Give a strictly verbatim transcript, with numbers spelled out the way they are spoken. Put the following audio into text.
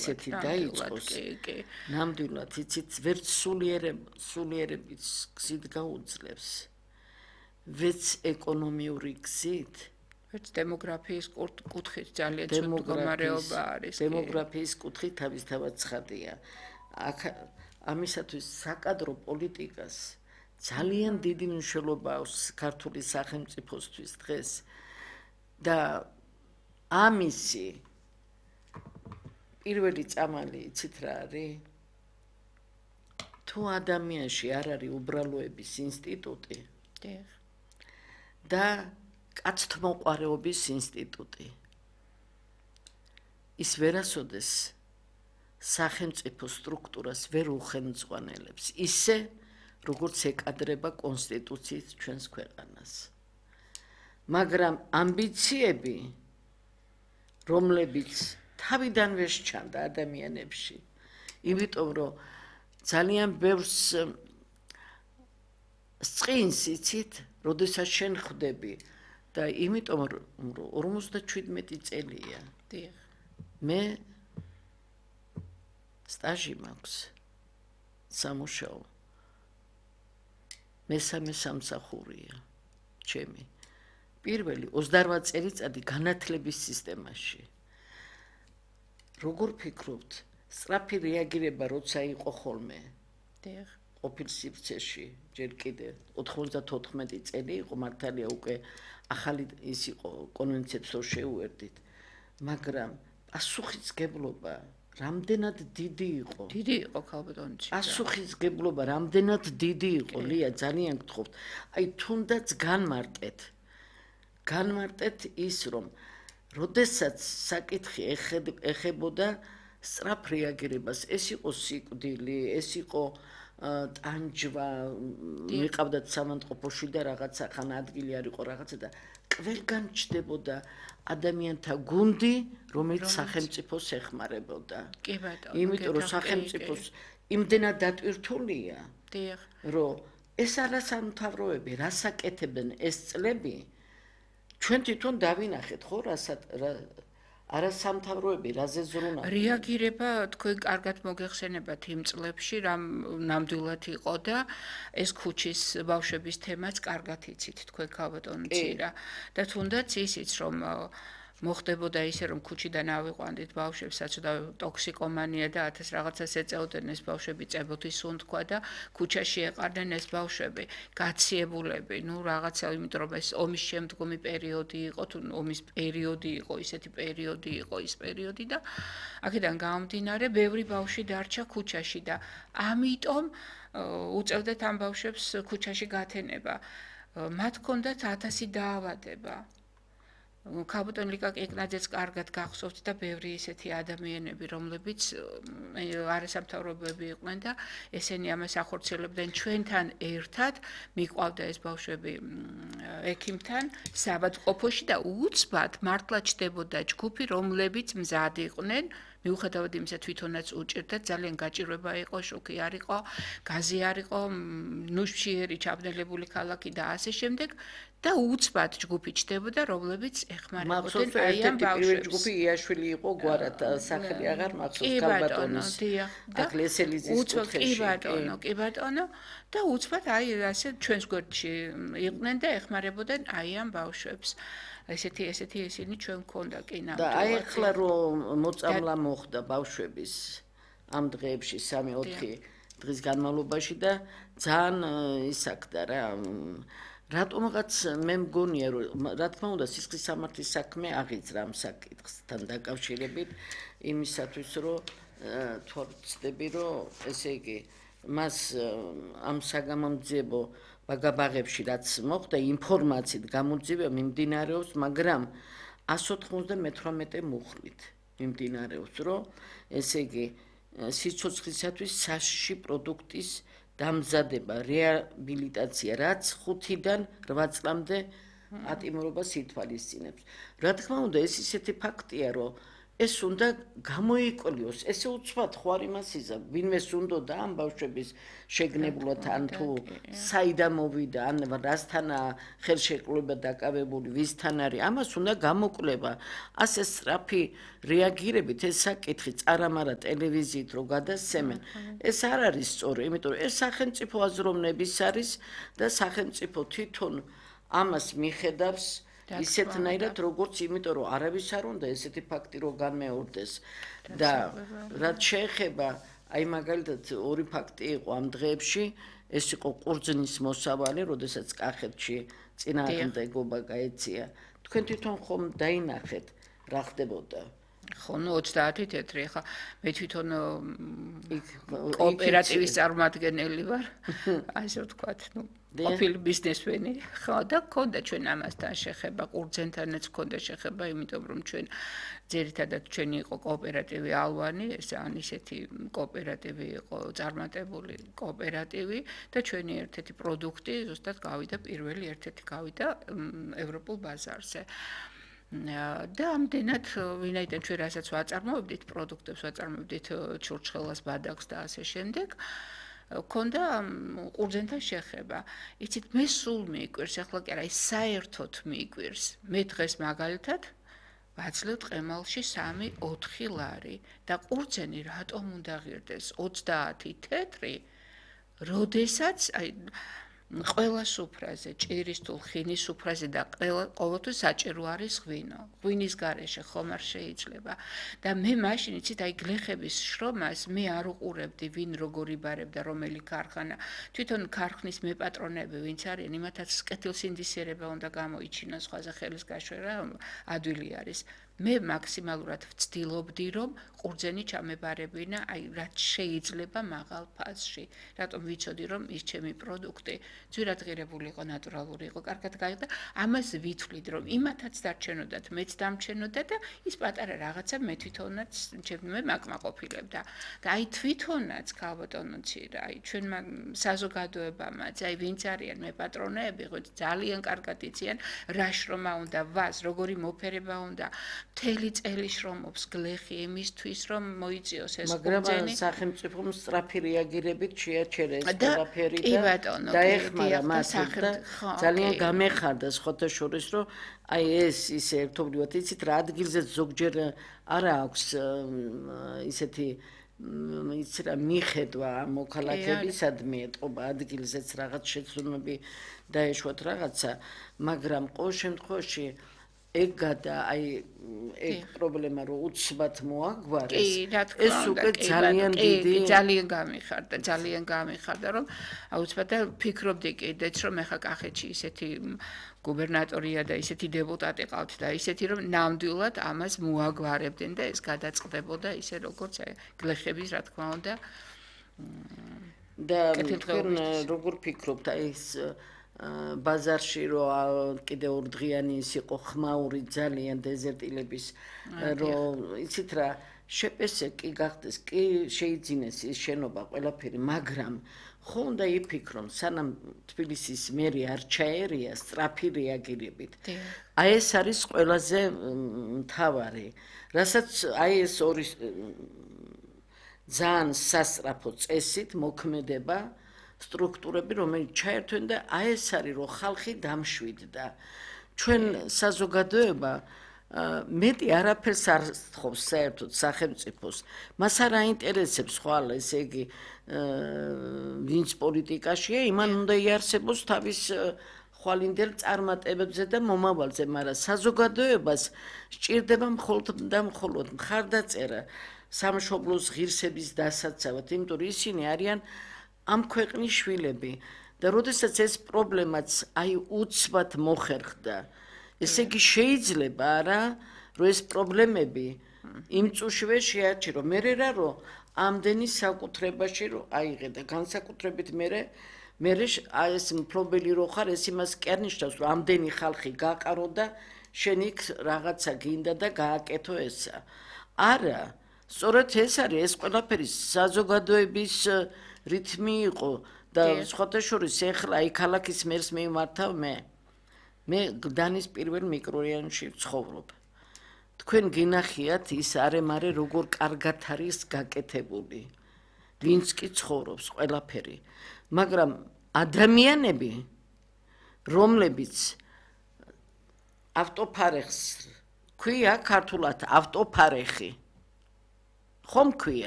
ისეთი დაიწყოს. ნამდვილად, იცით, ვერც სულიერების გზით გაუძლებს. ვერც ეკონომიური გზით, ვერც დემოგრაფიის კუთხით ძალიან ცუდ მდგომარეობა არის. დემოგრაფიის კუთხით თავისთავად ცხადია. აქ ამისათვის საკადრო პოლიტიკას ძალიან დიდი მნიშვნელობა აქვს ქართული სახელმწიფოსთვის დღეს და ამისი პირველი წამალი იცით რა არის? თუ ადამიანში არ არის უბრალოების ინსტიტუტი და კაცთმოყვარეობის ინსტიტუტი, ის ვერასოდეს სახელმწიფო სტრუქტურას ვერ უხელმძღვანელებს, ისე როგორც ეკადრება კონსტიტუციით ჩვენს ქვეყანას. მაგრამ ამბიციები, რომლებიც თავიდანვე სჩანდა ადამიანებში, იმიტომ რომ ძალიან ბევრს სწყინს იცით, როდესაც შენ ხვდები და იმიტომ რომ ორმოცდაშვიდმეტი წელია. მე სტაჟი მაქვს სამუშაო. მესამე სამსახურია ჩემი. პირველი ოცდარვა წელიწადი განათლების სისტემაში. როგორ ფიქრობთ, სწრაფი რეაგირება როცა იყო ხოლმე? დიახ. ყოფილ სივრცეში, ჯერ კიდე ოთხმოცდათოთხმეტი წელი იყო, მართალია უკვე ახალი ის იყო, კონვენციებს რო შეუერთდით, მაგრამ პასუხისმგებლობა რამდენად დიდი იყო? დიდი იყო ქალბატონი. პასუხისმგებლობა რამდენად დიდი იყო, ლია, ძალიან გთხოვთ. აი, თუნდაც განმარტეთ. განმარტეთ ის, რომ როდესაც საკითხი ეხებოდა სწრაფ რეაგირებას, ეს იყო სიკვდილი, ეს იყო ტანჯვა, მიყავდათ სამანტყოფოში და რაღაცა ხან ადგილი არ იყო რაღაცა და ყველგან ჩდებოდა ადამიანთა გუნდი, რომელიც სახელმწიფოს ეხმარებოდა. კი ბატონო. იმიტომ რომ სახელმწიფოს იმდენად დატვირთულია, რომ ეს არასამთავროები რას აკეთებენ ეს წლები, ჩვენ თვითონ დავინახეთ ხო რასაც არასამთავროები რაზე ზრუნავდნენ. რეაგირება თქვენ კარგად მოგეხსენებათ იმ წლებში, რამ ნამდვილად იყო და ეს ქუჩის ბავშვების თემაც კარგად იცით თქვენ ქალბატონი ცირა და თუნდაც ისიც რომ მოხდებოდა ისე რომ ქუჩიდან ავიყვანდით ბავშვებს საცოდავი ტოქსიკომანია და ათას რაღაცას ეწეოდნენ ეს ბავშვები წებოთი სუნთქვა და ქუჩაში ეყარდნენ ეს ბავშვები გაციებულები ნუ რაღაცა იმიტომ რომ ეს ომის შემდგომი პერიოდი იყო თუ ომის პერიოდი იყო ისეთი პერიოდი იყო ის პერიოდი და აქედან გამომდინარე ბევრი ბავშვი დარჩა ქუჩაში და ამიტომ უწევდათ ამ ბავშვებს ქუჩაში გათენება მათ ჰქონდათ ათასი დაავადება ქალბატონ ლიკა კეკნაძეც კარგად გახსოვთ და ბევრი ისეთი ადამიანები, რომლებიც არასამთავრობოები იყვნენ და ესენი ამას ახორციელებდნენ ჩვენთან ერთად, მიყვავდა ეს ბავშვები ექიმთან საავადმყოფოში და უცბად მართლა ჩდებოდა ჯგუფი, რომლებიც მზად იყვნენ მიუხედავად იმისა თვითონაც უჭირდა ძალიან გაჭირვება იყო შოქი არ იყო გაზი არ იყო ნუშიერი ჩაბნელებული ქალაქი და ასე შემდეგ და უცბად ჯგუფი ჩდებოდა რომლებიც ეხმარებოდნენ აი ამ ბავშვებს ჯგუფი იაშვილი იყო გვარად სახელი აღარ მახსოვს ქალბატონის აგლესელიზის კუთხეში კი ბატონო კი ბატონო და უცბად აი ასე ჩვენს გვერდში იყვნენ და ეხმარებოდნენ აი ამ ბავშვებს ესეთი ესეთი ისინი ჩვენ გქონდა კი ნამდვილად. და აი ახლა რომ მოწამლა მოხდა ბავშვების ამ დღეებში სამი ოთხი დღის განმავლობაში და ძალიან ისაკდა რა რატომღაც მე მგონია რომ რა თქმა უნდა სისხლის სამართლის საქმე აღიძრა ამ საკითხთან დაკავშირებით იმისათვის რომ თუ ვცდები რომ ესე იგი მას ამ საგამომძიებო ბაგაბაღებში რაც მოხდა ინფორმაციით გამოძიება მიმდინარეობს, მაგრამ ასი ოცდამეთვრამეტე მუხლით მიმდინარეობს, რომ ესე იგი სიცოცხლისათვის საშიში პროდუქტის დამზადება, რეაბილიტაცია, რაც ხუთიდან რვა წლამდე ატიმრობას ითვალისწინებს. რა თქმა უნდა, ეს ისეთი ფაქტია, რომ ეს უნდა გამოიკვლიოს, ესე უცბად ხო არ იმას იზა, ვინმეს უნდოდა ამ ბავშვების შეგნებულად ან თუ საიდან მოვიდა, ან რასთანა ხელშეკრულება დაკავებული, ვისთან არის, ამას უნდა გამოკვლევა. ასე სწრაფი რეაგირებით ეს საკითხი წარამარა ტელევიზიით რო გადასცემენ, ეს არ არის სწორი, იმიტომ რომ ეს სახელმწიფო აზროვნების არის და სახელმწიფო თვითონ ამას მიხედავს ისეთნაირად როგორც იმიტომ რომ არავის არ უნდა ესეთი ფაქტი რო განმეორდეს და რაც შეეხება აი მაგალითად ორი ფაქტი იყო ამ დღეებში ეს იყო ყურძნის მოსავალი როდესაც კახეთში წინააღმდეგობა გაეწია თქვენ თვითონ ხომ დაინახეთ რა ხდებოდა ხო ნუ ოცდაათი თეთრი ხა მე თვითონ კოოპერატივის წარმომადგენელი ვარ ასე ვთქვათ ნუ ყოფილი ბიზნესმენი ხო და გქონდა ჩვენ ამასთან შეხება ყურძენთანაც გქონდა შეხება იმიტომ რომ ჩვენ ძირითადად ჩვენი იყო კოოპერატივი ალვანი ეს ან ისეთი კოოპერატივი იყო წარმატებული კოოპერატივი და ჩვენი ერთ-ერთი პროდუქტი ზუსტად გავიდა პირველი ერთ-ერთი გავიდა ევროპულ ბაზარზე და ამდენად ვინაიდან ჩვენ რასაც ვაწარმოებდით პროდუქტებს ვაწარმოებდით ჩურჩხელას ბადაკს და ასე შემდეგ ქონდა ყურძენთან შეხება იცით მე სულ მიიკვირს ახლა კი არა ის საერთოდ მიიკვირს მე დღეს მაგალითად ვაძლევ ყემალში სამი ოთხი ლარი და ყურძენი რატომ უნდა ღირდეს ოცდაათი თეთრი როდესაც აი ყველა სუფრაზე, ჭირის თუ ხინის სუფრაზე და ყოველთვის საჭირო არის ღვინო. ღვინის გარეშე ხომ არ შეიძლება. და მე მაშინ იცით აი გლეხების შრომას მე არ უყურებდი ვინ როგორ იბარებდა რომელი ქარხანა. თვითონ ქარხნის მეპატრონები ვინც არიან, იმათაც კეთილსინდისიერება უნდა გამოიჩინოს სხვაზე ხელის გაშვერა ადვილი არის. მე მაქსიმალურად ვცდილობდი რომ ყურძენი ჩამებარებინა აი რაც შეიძლება მაღალ ფასში. რატომ ვიცოდი რომ ის ჩემი პროდუქტი ძვირად ღირებული იყო, ნატურალური იყო, კარგად გაიყიდა. ამას ვითვლით რომ იმათაც დარჩენოდათ, მეც დამჩენოდა და ის პატარა რაღაცა მე თვითონაც ჩემი მაკმაყოფილებდა. და აი თვითონაც ქალბატონოც რა, აი ჩვენმა საზოგადოებამაც, აი ვინც არიან მე პატრონეები, ხო ძალიან კარგად იციან რა შრომა უნდა, ვას, როგორი მოფერება უნდა. მთელი წელი შრომობს გლეხი იმისთვის რომ მოიწიოს ეს მაგრამ სახელმწიფომ სწრაფი რეაგირებით შეაჩერეს ყველაფერი და დაეხმარა მას და ძალიან გამეხარდა სხვათა შორის რომ აი ეს ისე ერთობლივად იცით რა ადგილზე ზოგჯერ არა აქვს ისეთი იცი რა მიხედვა მოქალაქეებისადმი ეტყობა ადგილზეც რაღაც შეცდომები დაეშვათ რაღაცა მაგრამ ყოველ შემთხვევაში ეგ გადა აი ეგ პრობლემა რომ უცბად მოაგვარეს ეს უკვე ძალიან დიდი ძალიან გამიხარდა ძალიან გამიხარდა რომ აუცილებლად ფიქრობდი კიდეც რომ ეხა კახეთში ისეთი გუბერნატორია და ისეთი დეპუტატი ყავთ და ისეთი რომ ნამდვილად ამას მოაგვარებდნენ და ეს გადაწყდებოდა ისე როგორც გლეხების რა თქმა უნდა და როგორ ფიქრობთ აი ეს ბაზარში რო კიდე ორდღიანი ის იყო ხმაური ძალიან დეზერტილების რომ იცით რა შეპესე კი გახდეს კი შეიძინეს ის შენობა ყველაფერი მაგრამ ხო უნდა იფიქრონ სანამ თბილისის მერი არ ჩაერია სწრაფი რეაგირებით აი ეს არის ყველაზე მთავარი რასაც აი ეს ორი ძალიან სასწრაფო წესით მოქმედება სტრუქტურები რომელიც ჩაერთვენ და აი ეს არის რომ ხალხი დამშვიდდა ჩვენ საზოგადოება მეტი არაფერს არ სთხოვს საერთოდ სახელმწიფოს მას არ აინტერესებს ხვალ ესე იგი ვინც პოლიტიკაშია იმან უნდა იარსებოს თავის ხვალინდელ წარმატებებზე და მომავალზე მაგრამ საზოგადოებას სჭირდება მხოლოდ და მხოლოდ მხარდაწერა სამშობლოს ღირსების დასაცავად იმიტომ რომ ისინი არიან ამ ქვეყნის შვილები და როდესაც ეს პრობლემაც აი უცბად მოხერხდა ესე იგი შეიძლება არა რომ ეს პრობლემები იმ წუთშივე შეაჩერო მე რა რომ ამდენი საკუთრებაში რომ აიღე და განსაკუთრებით მე მე ეს მფლობელი რო ხარ ეს იმას კი არ ნიშნავს რომ ამდენი ხალხი გაყარო და შენ იქ რაღაცა გინდა და გააკეთო ესა არა სწორედ ეს არის ეს ყველაფერი საზოგადოების რითმი იყო და სხვათა შორის ეხლა აი ქალაქის მერს მივმართავ მე მე გდანის პირველ მიკრორაიონში ვცხოვრობ თქვენ გინახიათ ის არემარე როგორ კარგად არის გაკეთებული. ვინც კი ცხოვრობს ყველაფერი. მაგრამ ადამიანები, რომლებიც ავტოფარეხს ქვია ქართულად ავტოფარეხი. ხომ ქვია?